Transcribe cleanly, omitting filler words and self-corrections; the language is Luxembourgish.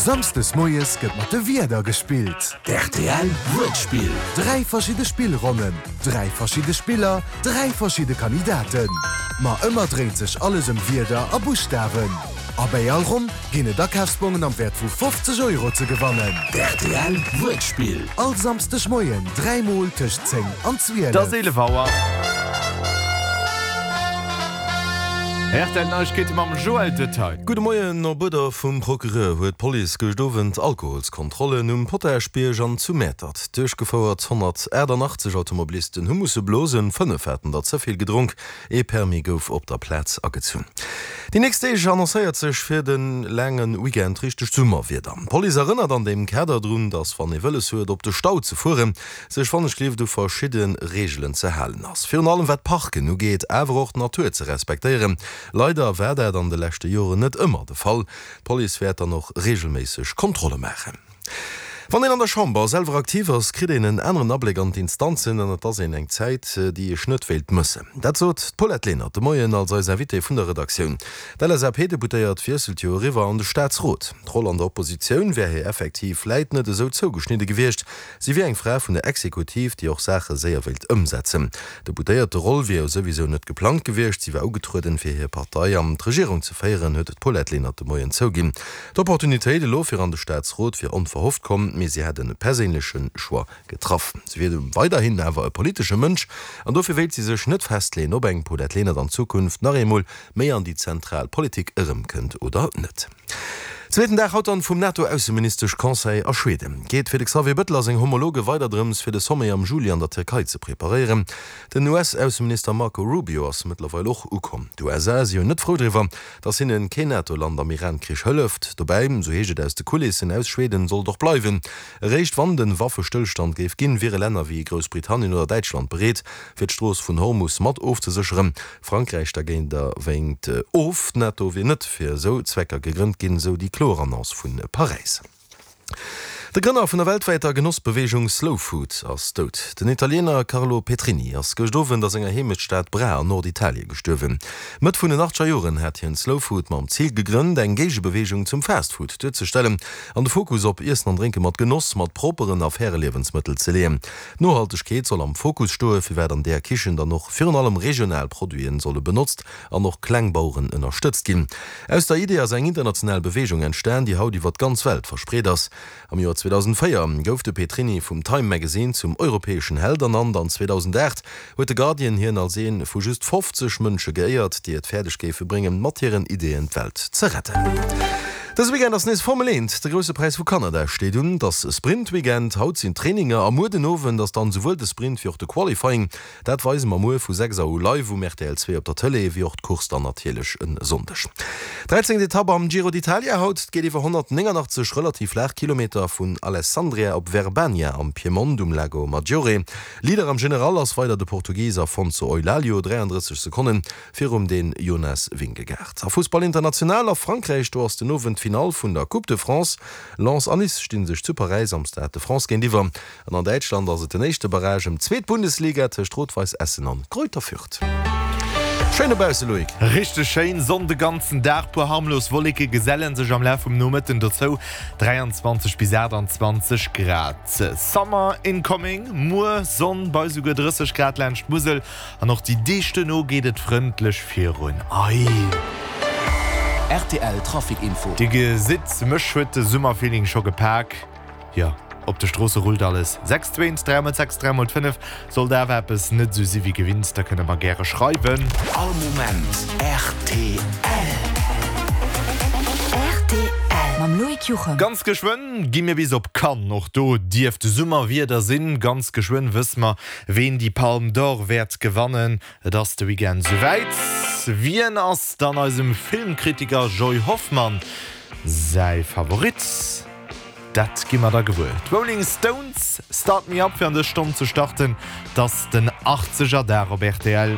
Samsdes moies gëtt mat de Wierder gespillt. D'RTL Wuertspill. 3 verschidde Spillronnen, 3 verschidde Spiller, 3 verschidde Kandidaten. Ma ëmmer dréint sech alles ëm Wierder a Buschtawen. A bäi all Ronn ginn et Akafsbongen am Wäert vu 50 Euro ze gewannen. D'RTL Wuertspill. All Samsdeg Moien 3 mol tëscht 10 an 12. Et ass 11 Auer. RTL Neiegkeete mam Joël Detaille. Gudde Moien, Op Uerder vum Procureur huet d'Police gëscht Owend Alkoholskontrollen um Potaschbierg an zu Mäertert duerchgefouert. 188 Automobilisten hu musse blosen, 5 haten der ze vill gedronk. Ee Permis gouf op der Plaz agezunn. Déi nächst Deeg annoncéiert sech fir de laange Weekend richtegt Summerwieder. D'Police erënnert an deem Kader drun, dass wann ee wëlles huet op de Stau ze fueren, sech wannechgelift u verschidde Reegelen ze halen ass. Virun allem wat d'Parken ugeet, awer och d'Natur ze respektéieren. Leider war dat an de leschte Joren net ëmmer de Fall. D'Police wäert dann och reegelméisseg Kontrolle maachen. Wann een an der Chamber selwer aktiv ass, kritt een en aneren Abléck an d'Instanzen an et ass een eng Zäit, déi ech net wéilt mëssen. Dat sot d'Paulette Lenert de Moien als eis Invitée vun der Redaktioun. D'LSAP-Deputéiert wiesselt jo eriwwer an de Staatsrot. D'Roll an der Oppositioun wär hir effektiv vläit net esou zougeschnidde gewiescht. Si wier eng Fra vun der Exekutiv, déi och Saache séier wéilt ëmsetzen. D'Deputéierte-Roll wier jo souwisou net geplangt gewiescht, si war ugetrueden, fir hir Partei an d'Regierung ze féieren, huet d'Paulette Lenert de Moien zouginn. D'Opportunitéit elo fir an de Staatsrot wier onverhofft komm, mee si hätt e perséinleche Choix getraff. Si wier weiderhin awer e politesche Mënsch an dofir wéilt si sech net festleeën, ob eng Paulette Lenert an Zukunft nach eemol méi an déi zentral Politik erëmkënnt oder net. Zweeten Dag haut dann vum NATO-Ausseministesch-Conseil a Schweden. Geet fir de Xavier Bëttel a seng Homologe weider drëms, fir de Sommet am Juli an der Tierkei ze preparéieren. Den US-Ausseminister Marco Rubio ass mëttlerweil och ukomm. D'USA si jo net frou driwwer, datt hinnen keen NATO-Land am Iran-Krich hëlleft. Dobäi, sou heescht et aus de Kulissen aus Schweden, sollt och bleiwen. Eréischt wann den Waffestëllstand géif ginn, wiere Länner wéi Groussbritannien oder Däitschland bereet, fir d'Strooss vun Hormus mat ofzesécheren. Frankräich dergéint wénkt of. D'NATO wier net fir esou Zwecker gegrënnt ginn, esou déi kloer Annonce vu Paräis. De Grënner vun der weltwäiter Genossbeweegung Slow Food ass dout. Den Italiener Carlo Petrini ass gëscht Owend a senger Heemechtsstad Bra an Norditalie gestuerwen. Mëtt vun den achtzeger Joren hat hien Slow Food mam Zil gegrënnt, eng Géigebeweegung zum Fast Food duerzestellen an de Fokus op Iessen an Drénke mat Genoss, mat propperen a faire Liewensmëttel ze leeën. D'Nohaltegkeet soll am Fokus stoen, firwat an där Kichen dann och virun allem regional Produiten solle benotzt an och kleng Baueren ënnerstëtzt ginn. Aus der Idee ass eng international Beweegung entstan, déi haut iwwer d'ganz Welt verspreet ass. Am Joer 2004 gouf de Petrini vum Time Magazine zum europäeschen Held ernannt an 2008 huet de Guardian hien als ee vu just 50 Mënsche geéiert, déi et fäerdeg géife bréngen, mat hiren Ideeën d'Welt ze retten. Dëse Weekend ass nees Formel 1, de Grousse Präis vu Kanada steet un. Et ass Sprint-Weekend, haut sinn d'Traininger a muer den Owend ass dann esouwuel de Sprint wéi och de Qualifying. Dat weise mer muer vu 6 Auer u live um rtl 2 op der Tëlee, wéi och d'Course dann natierlech e Sonndeg. Dräizéngt Etapp am Giro d'Italia haut. Et geet iwwer 189 relativ flaach Kilometer vun Alessandria op Verbania am Piemont um Lago Maggiore. Leader am General ass weider de Portugis Afonso Eulalio, 33 Sekonnen virum Dän Jonas Vingegaard. A Fussball international a Frankräich, do ass den Owend d'Finall vun der Coupe de France. Lens an Nice sti sech zu Paräis am Stade de France géintiwwer. An an Däitschland ass et den éischte Barrage ëm d'zweet Bundesliga tëscht Rot-Weiss Essen an Greuther Fürth. Schéin dobausse, Loïc! Richteg schéin, Sonn de ganzen Dag, puer harmlos Wolleke gesellen sech am Laf vum Nomëtten dozou, 23 bis 28 Grad. Summer incoming, muer Sonn bei souguer 30 Grad laanscht d'Musel an och déi Deeg duerno geet et frëndlech virun. Ei! Rtl Trafic Info. Dir gesitt, mech huet de Summerfeeling scho gepak. Jo, op de Stroosse rullt alles. 6 2 3 mol 6 3 mol 5. Sollt awer eppes net esou si wéi gewinnt, da kënne mer gäre schreiwen. All Moment rtl. Rtl mam Loïc Juchem. Ganz geschwënn gi mir bis op Cannes. Och do dierft Summerwieder sinn. Ganz geschwënn wësse mer, ween déi Palme d'Or wäert gewannen. Et ass de Weekend souwäit. Wien ass dann eisem Filmkritiker Joy Hoffmann säi Favorit? Dat gi mer da gewuer. D'Rolling Stones, Start Me Up fir an dës Stonn ze starten. 't ass den Achtzegerdag op rtl.